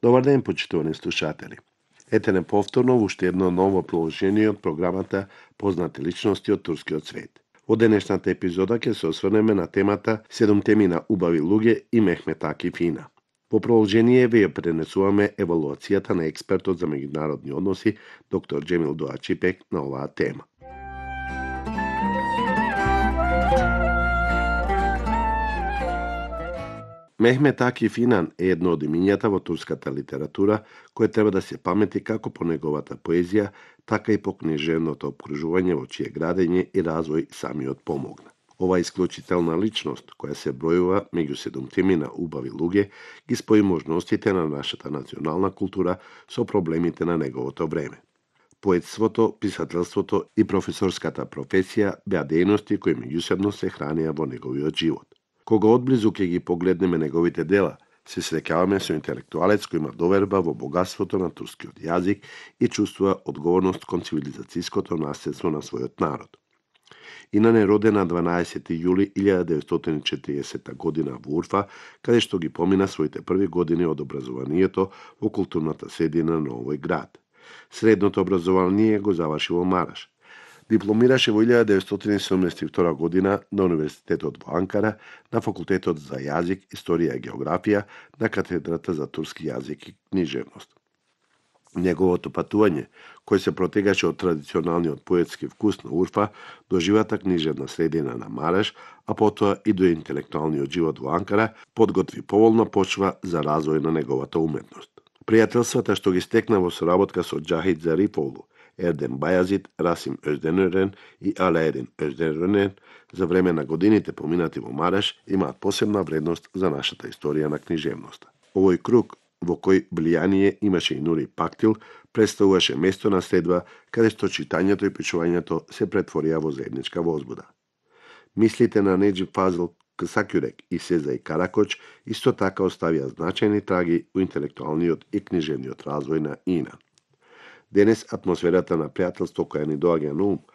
Добар ден, почитувани слушатели. Ете неповторно во уште едно ново приложение од програмата Познати личности од турскиот свет. Во денешната епизода ќе се осврнеме на темата 7 теми на убави луѓе и Мехмет Акиф Ина. Во продолжение ве ја пренесуваме евалуацијата на експертот за меѓународни односи доктор Джемил Дуачипек на оваа тема. Мехмет Акиф Инан е едно од имињата во турската литература кој треба да се памети како по неговата поезија, така и по книжевното обкружување во чие градење и развој самиот помогна. Ова исклучителна личност, која се бројува меѓу 7 теми на убави луѓе, ги спои можностите на нашата национална култура со проблемите на неговото време. Поетството, писателството и професорската професија беа дејности кои меѓусебно се хранеа во неговиот живот. Кога одблизу ќе ги погледнеме неговите дела, се среќаваме со интелектуалец кој има доверба во богатството на турскиот јазик и чувствува одговорност кон цивилизацијското наследство на својот народ. Инан е роден на 12 јули 1940 година во Урфа, каде што ги помина своите први години од образованието во културната средина на овој град. Средното образование го заврши во Мараш. Дипломираше во 1972 година на Универзитетот во Анкара, на Факултетот за јазик, историја и географија, на катедрата за турски јазик и книжевност. Неговото патување, кој се протегаше од традиционалниот поетски вкус на Урфа до живата книжевна средина на Мараш, а потоа и до интелектуалниот живот во Анкара, подготви поволна почва за развој на неговата уметност. Пријателствата што ги стекна во соработка со Џахид Зариповлу, Ердем Бајазид, Расим Озденерен и Алаедин Озденерен за време на годините поминати во Мараш имаат посебна вредност за нашата историја на книжевноста. Овој круг, во кој влијание имаше и Нури Пактил, представуваше место на следба каде што читањето и пишувањето се претворија во заедничка возбуда. Мислите на Неџип Фазил Ксакјурек и Сезај Каракоч исто така оставија значајни траги во интелектуалниот и книжевниот развој на Инан. Денес атмосферата на пријателство која ни доаѓа на ум